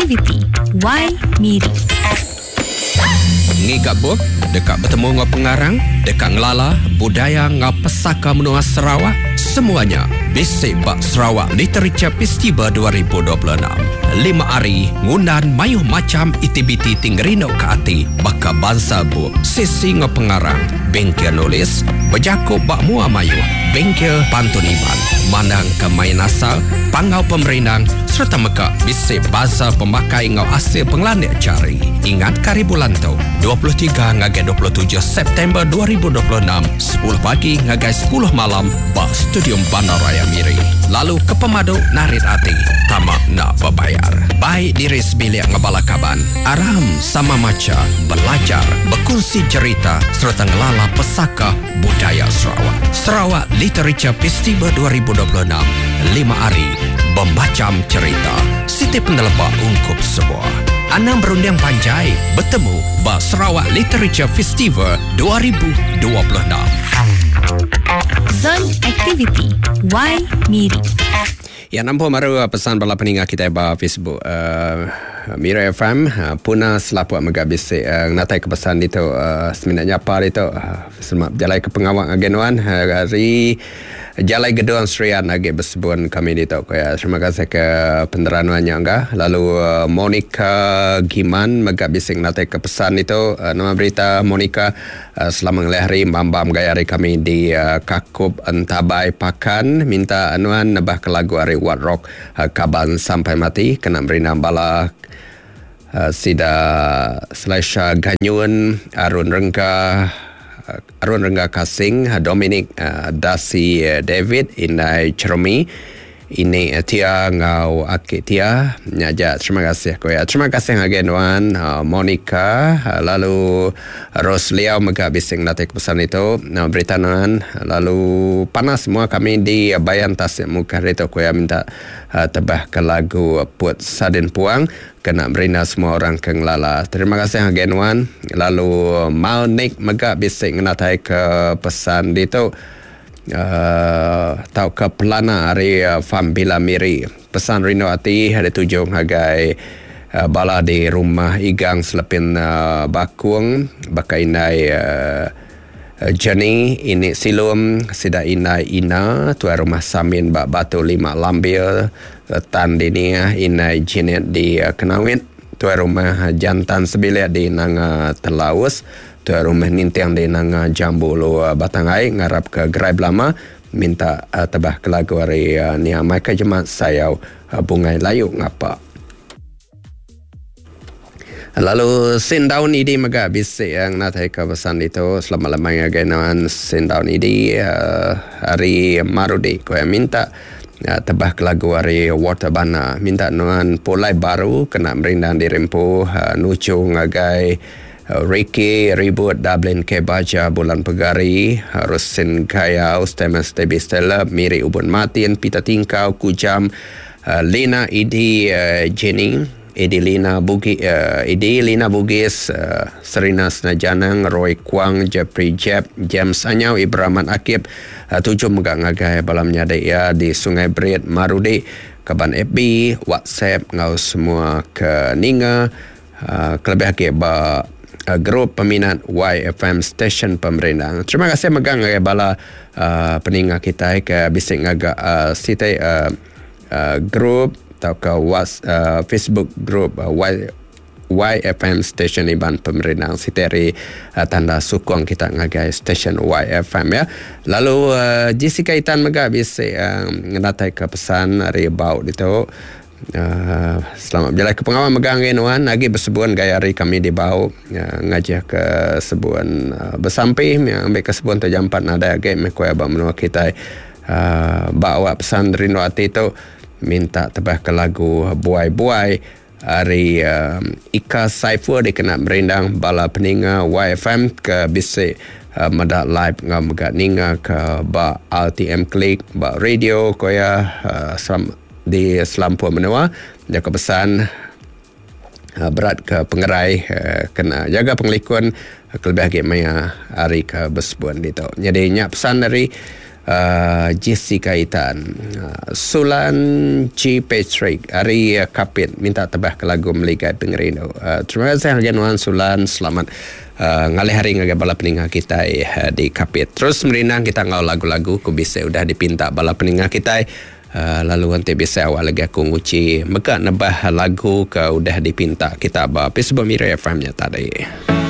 Activity Y Miri. Ngiga bup, deka betemu enggau pengarang, deka ngelala budaya enggau pesaka menua Sarawak, semua nya bisi ba Sarawak Literature Festival 2026. Lima hari ngundan mayuh macham aktiviti ti ngerinduka ati baka bansa bup, sesi enggau pengarang, bengkel nulis, bejaku ba mua mayuh, bengkel pantun Iban, mandangka main asal, panggau pemerindang sereta mega bisi bansa pemakai enggau asil pengelandik jari. Ingatka hari bulan tu, 23 ngagai 27 September 2026, 10 pagi ngagai 10 malam ba Stadium Bandaraya Miri. Lalu ke pemadu narit ati, tama enda bebayar. Bai diri sebilik enggau bala kaban, aram sama macha, belajar, bekunsi jerita sereta ngelala pesaka Budaya Sarawak. Sarawak Literature Festival 2026, lima hari, bemacham cherita, siti peneleba ungkup semua. Anang berunding panjai, betemu ba Sarawak Literature Festival 2026. Zon Aktiviti Y Miri. Ya nampung baru pesan bala peninga kitai ba Facebook uh, Miri FM uh, Puna Selapuk mega bisi uh, ngenatai ke pesan ditu uh, semina nyapa ditu uh, selamat bejalai ke pengawa ngagai nuan uh, hari Jalai Gedong Serian agi besebun kami ditu ku iya. Terima kasih ke peneran nuan nya engga. Lalu uh, Monica Giman mega bisi ngenatai ke pesan ditu uh, nama berita Monica Selamat ngelih hari mambam gaya hari kami di Kakup Entabai Pakan minta nuan nebah ke lagu ari Wat Rock Kaban Sampai Mati kena merindang bala sida Selaisha Ganyun Arun Rengga Arun Rengga Kasing Dominic Dasi David Indai Cheremi Ini Tia enggau aki Tia nya aja terima kasih ku iya. Terima kasih ngagai nuan Monica lalu Rose Liau mega bisi ngelatih ke pesan ditu berita nuan lalu panas semua kami di Bayan Tasik Mukah ditu ku iya minta tebah ke lagu Put Sadin Puang kena merinda semua orang ke ngelala. Terima kasih ngagai nuan lalu Malnik mega bisi ngenatai ke pesan ditu. Tauka pelana ari Farm Bila Miri. Pesan rindu ati dituju ngagai bala di Rumah Igang Selepin Bakung baka indai Jenny, ini Silum, sida indai Ina, tuai rumah Samin ba Batu Lima Lambir, Tan Dinia, indai Jenet di Kenawit, tuai rumah Jantan Sebilik di Nanga Telaus, Tuai Rumah Ninting di Nanga Jambu Ulu Batang Ai ngarapka gerai belama minta tebah ke lagu ari nia Michael Jemat Sayau Bungai Layu Ngapa. Lalu Sin Daun Idi mega bisi ngenataika pesan ditu selamat lemai ngagai nuan Sin Daun Idi ari Marudi ku iya minta tebah ke lagu ari Walter Bana minta nuan pulai baru kena merindang diri empu nuju ngagai Ricky Ribut Dublin K Baja Bulan Pegari Rosin Gayau Stemas Tebi Stella Miri Ubun Martin Peter Tingkau Kujam Lina Idi Jenny Idi Lina Bugi Idi Lina Bugis Serina Senajanang Roy Kuang Jeffrey Jeb James Anyau Ibraman Akip tuju mega ngagai bala menyadi iya di Sungai Berit Marudi kaban FB WhatsApp enggau semua ke ninga Kelebih agi ba grup peminat YFM Stesen Pemerindang. Terima kasih mega ngagai bala peninga kitai ke bisi ngaga siti grup tauka Facebook group YFM Stesen Iban Pemerindang. Siti ari tanda sukung kita ngagai stesen YFM ya. Lalu Jessica Itan mega bisi ngenataika pesan ari bau ditu. Selamat bejalai ke pengawa mega ngagai nuan agi besebun gaya hari kami di Bau ngajih ke sebun besampi ambi ke sebun tu jampat nadai agi meh ku iya ba menua kitai ba awak pesan rindu ati tu minta tebah ke lagu Buai Buai ari Ika Saiful dikena merindang bala peninga YFM ke bisi meda live enggau mega ninga ke ba RTM Click ba radio ku iya. Di selampur menua, jaku pesan berat ke pengerai kena jaga pengelikun kelebih agi maya hari ke besebun ditu. Nyadi nya pesan ari Uh, Jessica Itan uh, Sulan G. Patrick ari Kapit minta tebah ke lagu Meligai Pengerindu. Uh, terima kasih ngagai nuan Sulan. Selamat uh, ngalih hari ngagai bala peninga kitai uh, di Kapit. Terus merindang kita enggau lagu-lagu ku bisi udah dipinta bala peninga kitai. Uh, lalu nanti bisa awak lagi aku nguci mega nebah lagu ke udah dipinta kita ba Facebook Miri FM nya tadi.